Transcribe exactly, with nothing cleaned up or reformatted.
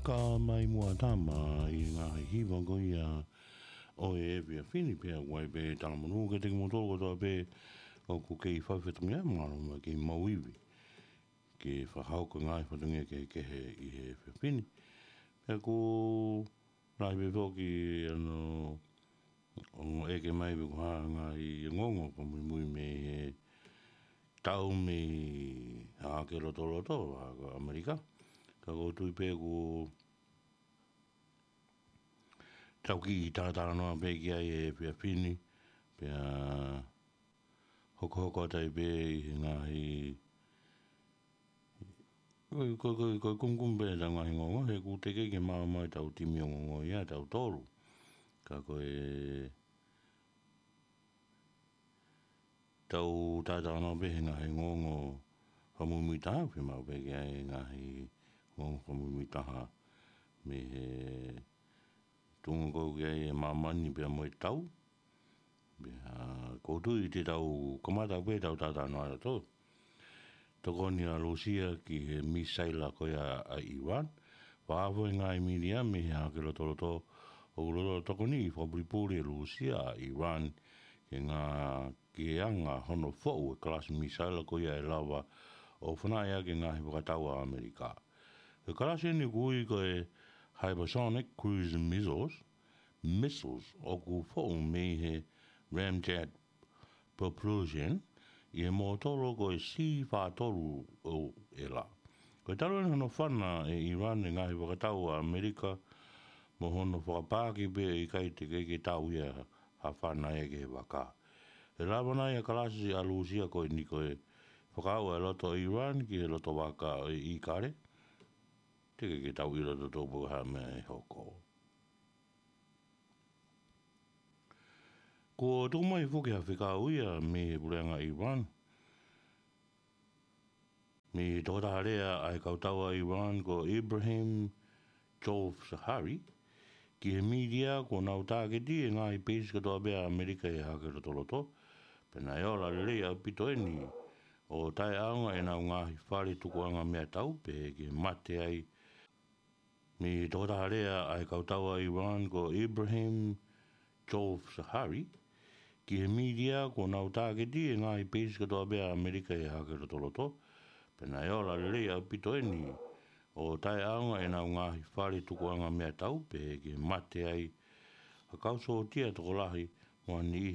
Ka mai muʻa tama ʻi he ngaahi hiva ko ia ʻo e efiafi ni, pea ʻoku ʻi ai pē talamonū kiate kimoutolu kotoa pē ʻoku kei fai fatongia, mālō muʻa kei maʻu ivi ke fakahoko ngaahi fatongia kehekehe ʻi he efiafi ni. Pea ʻoku lahi pē foki ʻa e ongo ʻeke mai pe ko e hā e ngaahi ongoongo fakamuimui mei he tau mei Hahake Lotoloto, Vahaʻa ko ʻAmelika. Ka ʻoku ou tui pē ʻoku tau kiʻi talatalanoa pē ki ai he efiafi ni, pea hokohoko atu ai pē ʻi he ngaahi, ko, ko, ko, ko e kumukumu pē ʻetau ngaahi ongoongo, he ʻoku teʻeki ke maʻu mai ʻetau timi ongoongo ia ʻe tautolu. Ka ko ʻetau talatalanoa pē he ngaahi ongoongo fakamuimui taha, fiemaʻu pē ke ʻi ai e ngaahi ongoongo fakamuimui taha mei he tuʻunga ko ē ʻoku ʻi ai e māmani pea mo e tau. Pea ʻoku ou tui te tau kamata pē ʻetau talatalanoa ʻatautolu. Tokoni ʻa Lūsia ki he misaila ko ia ʻa ʻIran. Fakaafeʻi e ngaahi mītia mei Hahake Lotoloto ʻoku lolotonga tokoniʻi fakapulipuli ʻe Lūsia ʻa ʻIran ki he ngaahi, ki he anga hono foʻu e kalasi misaila ko ia ʻe lava ʻo fanaʻi ʻaki e ngaahi fakatau ʻa ʻAmelika. Ko e kalasi eni ʻoku ui ko e hypersonic cruise missiles, missiles ʻoku foʻu mei he ramjet propulsion ʻi he mōtolo ko e C fā tolu ʻo ʻEla. Ko e talu eni hono fana ʻe ʻIran e ngaahi fakatau ʻa ʻAmelika mo hono fakapaaki pē ʻe ʻikai teʻeki ke tau ia ha fana ia ki he vaka. ʻE lava nai ʻa e kalasi ʻa Lūsia ko eni ko e fakaaʻu ʻa e loto ʻo ʻIran ki he loto vaka ʻo e ʻīkale? Teʻeki ke tau ʻilo tautolu pe ko e hā e meʻa ʻe hoko. Kuo tuku mai foki ha fekau ia mei he puleʻanga ʻIran, mei he tokotaha lea ʻa e kautau ʻa ʻIran ko Ibrahim Jolfzahari ki he mītia kuo nau tāketi e ngaahi peisi kotoa pē ʻa ʻAmelika ʻi Hahake Lotoloto, pea naʻe ola lelei ʻaupito eni ʻo taʻeʻaonga ʻenau ngaahi fale tukuʻanga meʻatau pehē ki he mate ai. Mei he tokotaha lea ʻa e kautau ʻa ʻIran ko Ibrahim Jolfzahari ki he mītia kuo nau tāketi e ngaahi peisi kotoa pē ʻa ʻAmelika ʻi Hahake Lotoloto, pea naʻe ola lelei ʻaupito eni ʻo taʻeʻaonga ʻenau ngaahi fale tukuʻanga meʻatau pehē ki he mate ai ha kau sōtia tokolahi mo ha niʻihi